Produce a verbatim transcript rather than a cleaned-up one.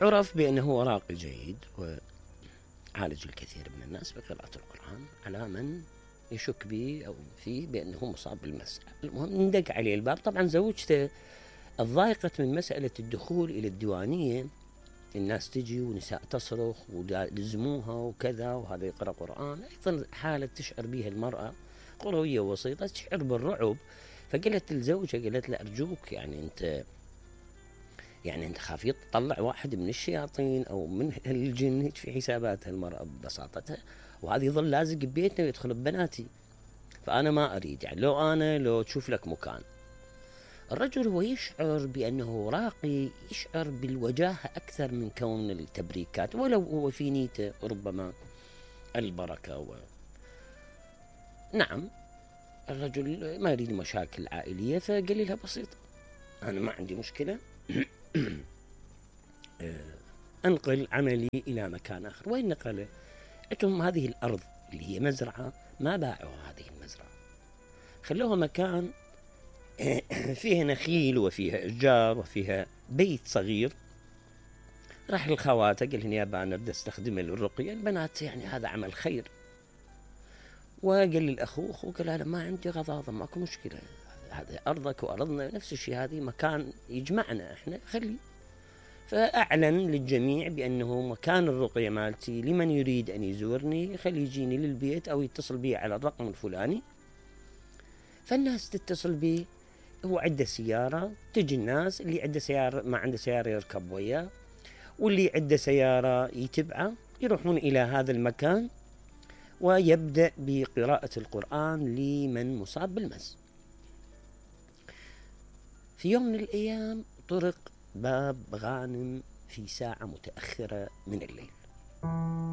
عرف بأنه هو راقي جيد وعالج الكثير من الناس بقراءة القرآن على من يشك به أو فيه بأنه مصاب بالمس. المهم ندق عليه الباب. طبعا زوجته اتضايقت من مسألة الدخول إلى الديوانية، الناس تجي ونساء تصرخ ولزموها وكذا وهذا يقرأ قرآن، أيضا حالة تشعر بها المرأة قروية وسيطة، تشعر بالرعب. فقالت لزوجها، قالت له أرجوك يعني أنت يعني أنت خاف يطلع واحد من الشياطين أو من الجن في حساباتها المرأة ببساطتها، وهذا يظل لازق ببيتنا ويدخل ببناتي، فأنا ما أريد يعني لو أنا لو تشوف لك مكان. الرجل هو يشعر بأنه راقي، يشعر بالوجاهة أكثر من كون التبريكات، ولو هو في نيته ربما البركة و... نعم الرجل ما يريد مشاكل عائلية، فقال لها بسيطة أنا ما عندي مشكلة أنقل عملي إلى مكان آخر. وين نقله؟ عندهم هذه الأرض اللي هي مزرعة، ما باعوا هذه المزرعة، خلوها مكان فيها نخيل وفيها أشجار وفيها بيت صغير. راح للخواته قال لهم يابا أنا بدي أستخدمه للرقية، البنات يعني هذا عمل خير. وقال للأخو، أخوه قال أنا ما عندي غضاضة ماكو مشكلة، هذا أرضك وأرضنا نفس الشيء، هذه مكان يجمعنا إحنا خلي. فأعلن للجميع بأنه مكان الرقية مالتي لمن يريد أن يزورني خلي يجيني للبيت أو يتصل بي على الرقم الفلاني. فالناس تتصل بي، هو عنده سيارة، تجي الناس اللي عنده سيارة ما عنده سيارة يركب وياه، واللي عنده سيارة يتبعه، يروحون إلى هذا المكان ويبدأ بقراءة القرآن لمن مصاب بالمس. في يوم من الأيام طرق باب غانم في ساعة متأخرة من الليل.